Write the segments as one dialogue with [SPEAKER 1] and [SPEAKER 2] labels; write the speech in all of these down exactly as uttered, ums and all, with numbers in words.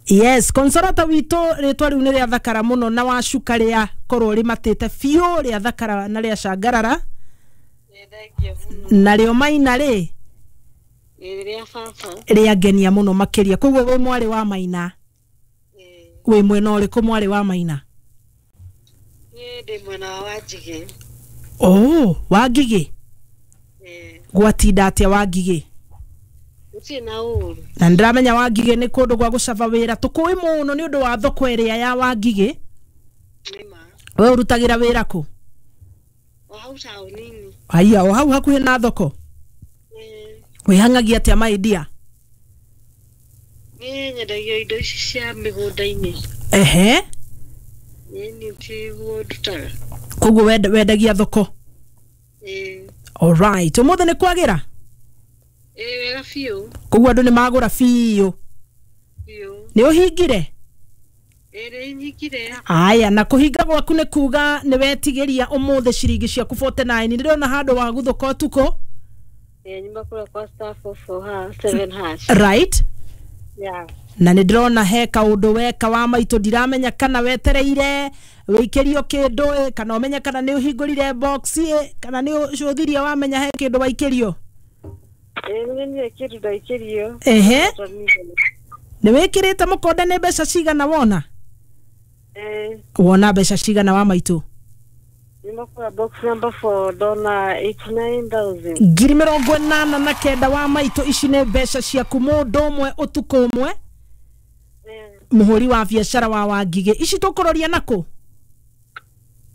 [SPEAKER 1] Yes, Consolata witũ rĩtwa rĩu nĩ rĩa thakara mũno na wacuka rĩa korwo rĩmatĩte biũ rĩa thakara na rĩa cangarara.
[SPEAKER 2] Nĩ thengiũ mũno.
[SPEAKER 1] Narĩo Maina rĩ?
[SPEAKER 2] Ĩĩ, rĩa baba.
[SPEAKER 1] Rĩa ngenia mũno makĩria. Koguo wĩ mwarĩ wa Maina?
[SPEAKER 2] Ĩĩ.
[SPEAKER 1] Wĩ mwena ũrĩkũ mwarĩ wa Maina?
[SPEAKER 2] Niĩ ndĩ mwena wa Wanjigĩ.
[SPEAKER 1] Oh, Wangigĩ?
[SPEAKER 2] Ĩĩ.
[SPEAKER 1] Gwatinda atĩa Wangigĩ?
[SPEAKER 2] Gũtirĩ na ũru.
[SPEAKER 1] Na nĩndĩramenya Wangigĩ nĩ kũndũ gwa gũcaba wĩra, tũkũĩ mũno nĩ ũndũ wa thoko ĩrĩa ya Wangigĩ.
[SPEAKER 2] Nĩma.
[SPEAKER 1] We ũrutagĩra wĩra kũ?
[SPEAKER 2] O hau taũni-inĩ.
[SPEAKER 1] Aya, o hau hakuhĩ na thoko?
[SPEAKER 2] Ĩĩ.
[SPEAKER 1] Wĩhang'agia atĩa my dear?
[SPEAKER 2] Niĩ nyendagia indo ici cia mĩgũnda-inĩ.
[SPEAKER 1] Ehe.
[SPEAKER 2] Ĩĩ, niĩ tiguo ndutaga.
[SPEAKER 1] Koguo wendagia thoko?
[SPEAKER 2] Ĩĩ.
[SPEAKER 1] Alright, ũmũthĩ nĩ kwagĩra?
[SPEAKER 2] Ĩĩ, wega biũ.
[SPEAKER 1] Koguo andũ nĩ magũra biũ?
[SPEAKER 2] Biũ.
[SPEAKER 1] Nĩ ũhingire?
[SPEAKER 2] Ĩĩ, nĩ nyingire.
[SPEAKER 1] Aya, na kũhinga gwaku nĩ kuga nĩ wetigĩria ũmũthĩ ciringi ciaku forty nine. Nĩndĩrona handũ waguthũka ũtukũ.
[SPEAKER 2] Ĩĩ, nyuma kũrĩa kwa star four four hash seven hash.
[SPEAKER 1] Right.
[SPEAKER 2] Yeah.
[SPEAKER 1] Na nĩ ndĩrona he kaũndũ weka wa maitũ, ndiramenya kana wetereire wĩikĩrio kĩndũ ĩ, kana ũmenye kana nĩ ũhingũrire box ĩ, kana nĩ ũcũthirie wamenya he kĩndũ waikĩrio.
[SPEAKER 2] Ĩĩ, nĩ nyonire kĩndũ ndaikĩrio.
[SPEAKER 1] Ehe. Nĩ wĩkĩrĩte mũkonde nĩ mbeca cigana wona?
[SPEAKER 2] Ĩĩ.
[SPEAKER 1] Wona mbeca cigana wa maitũ?
[SPEAKER 2] Nyuma kũrĩa box number four ndona eighty nine thousand.
[SPEAKER 1] Ngiri mĩrongo ĩnana na kenda wa maitũ, ici nĩ mbeca ciaku mũndũ ũmwe ũtukũ ũmwe. Mũhũri wa biacara wa Wangigĩ, ici tũkũroria nakũ?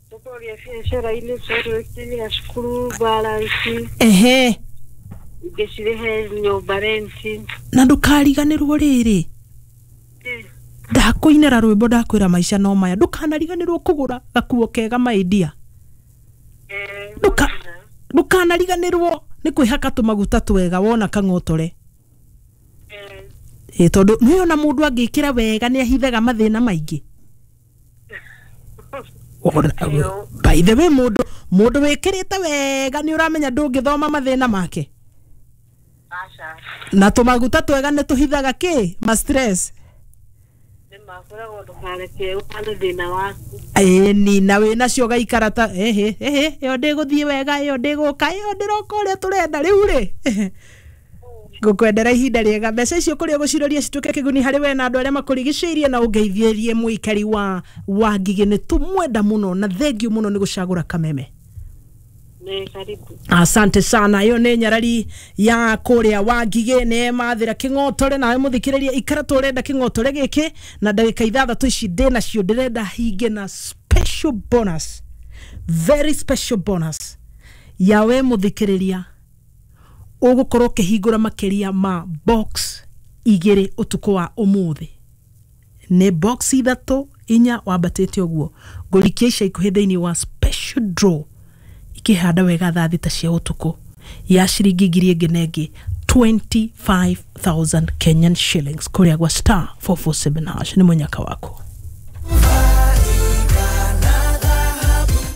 [SPEAKER 2] Tũkũroria biacara-inĩ tondũ ĩkĩrĩha cukuru balance.
[SPEAKER 1] Ehe.
[SPEAKER 2] Ingĩ cirĩhe nyũmba rent.
[SPEAKER 1] Na ndũkariganĩrwo rĩrĩ, ndakũinĩra rwĩmbo ndakwĩra maica no maya, ndũkanariganĩrwo kũgũra gakuo kega my dear. Ndũka ndũkanariganĩrwo nĩ kwĩhaka tũmaguta twega wona kang'otore. Ĩ, tondũ nĩũĩ ona mũndũ angĩkĩra wega nĩ ahithaga mathĩna maingĩ. By the way, mũndũ mũndũ wĩkĩrĩte wega nĩ ũramenya ndũngĩthoma mathĩna make.
[SPEAKER 2] Aca.
[SPEAKER 1] Na tũmaguta twega nĩ tũhithaga kĩ? Ma stress.
[SPEAKER 2] Nĩma, kwĩragwo ndũkareke ũhane thĩna waku.
[SPEAKER 1] Ĩni, na wĩnacio ũgaikara ta ehe ehe, ĩyo ndĩgũthiĩ wega, ĩyo ndĩgũka, ĩyo ndĩroka ũrĩa tũrenda rĩu rĩ. Ngũkwendera ihinda rĩega. Mbeca icio kũrĩa ũgũciroria cituĩke kĩguni harĩ we na andũ arĩa makũrigicĩirie, na ũngeithĩrie mũikari wa Wangigĩ. Nĩ tũmwenda mũno na thengiũ mũno nĩ gũcagũra Kameme.
[SPEAKER 2] Nĩ karibu.
[SPEAKER 1] Asante sana. Ĩyo nĩ nyarari ya kũrĩa Wangigĩ, nĩ emathĩra kĩng'otore. Nawe mũthikĩrĩria ikara tũrenda kĩng'otore gĩkĩ, na ndagĩka ithathatũ ici ndĩ nacio ndĩrenda hinge na special bonus, very special bonus ya we mũthikĩrĩria ũgũkorwo ũkĩhingũra makĩria ma box igĩrĩ ũtukũ wa ũmũthĩ. Nĩ box ithatũ inya wambatĩte ũguo, ngũrikia ica ikuhĩ thĩinĩ wa special draw ikĩhanda wega thaa thita cia ũtukũ ya ciringi ngiri ĩngĩ na ĩngĩ twenty five thousand Kenyan shillings kũrĩa gwa star four four seven hash. Nĩ mũnyaka waku.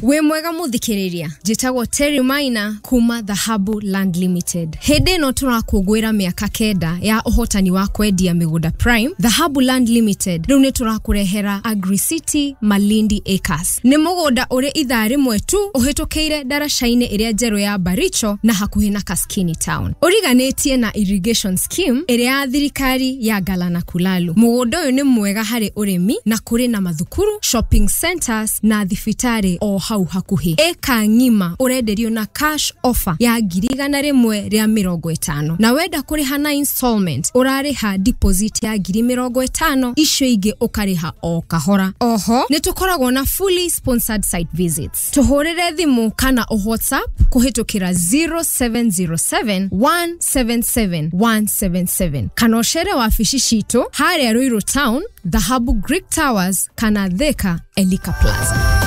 [SPEAKER 3] Wĩ mwega mũthikĩrĩria, njĩtagwo Terry Maina kuma Dhahabu Land Limited. Hĩndĩ ĩno tũrakũngũĩra mĩaka kenda ya ũhotani wa kwendia mĩgũnda Prime, Dhahabu Land Limited rĩu nĩ tũrakũrehera Agri City Malindi Acres. Nĩ mũgũnda ũrĩ ithaa rĩmwe tu ũhĩtũkĩire ndaraca-inĩ ĩrĩa njerũ ya Baricho na hakuhĩ na Kaskini Town. Ũriganĩtie na irrigation scheme ĩrĩa ya thirikari ya Galana Kulalu. Mũgũnda ũyũ nĩ mwega harĩ ũrĩmi na kũrĩ na mathukuru, shopping centers na thibitarĩ o hau hakuhĩ. Eka ng'ima ũrenderio na cash offer ya ngiri igana rĩmwe rĩa mĩrongo ĩtano, na wenda kũrĩha na installment ũrarĩha deposit ya ngiri mĩrongo ĩtano, icio ingĩ ũkarĩha o kahora. Oho nĩ tũkoragwo na fully sponsored site visits. Tũhũrĩre thimũ kana o WhatsApp kũhĩtũkĩra zero seven zero seven one seven seven one seven seven kana ũcere wabici citũ harĩa Ruiru Town, Dhahabu Greek Towers kana Thika Elika Plaza.